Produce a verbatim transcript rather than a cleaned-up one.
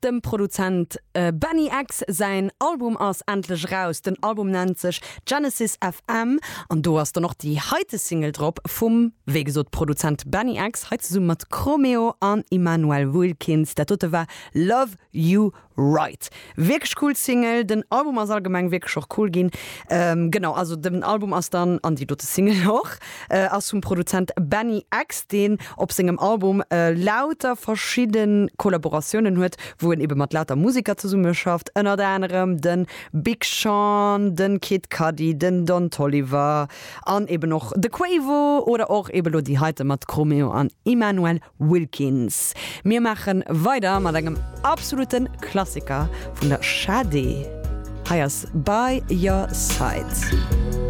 Dem Produzent äh, Benny X säin Album ass endlech raus. Den Album nennt sech Genesis F M an do ass dann och déi heite Single drop vum, wéi gesot, Produzent Benny X, hei zesumme mat Chromeo an Immanuel Wilkins. Dat dote war Love You Right. Wierklech cool Single, den Album ass allgemeng wierklech och cool ginn. Ähm, genau, also den Album ass dann an déi dote Single och äh, ass vum Produzent Benny X, deen op sengem Album äh, lauter verschidde Kollaboratiounen huet, wou en ebe mat lauter Museker zesummeschafft, ënnert anerem den Big Sean, den Kid Cudi, den Don Toliver an eben och de Quavo oder och eben lo déi heite mat Chromeo an Immanuel Wilkins. Mir maache weider mat engem absolute Klassiker vun der Sade. Hei ass By Your Side.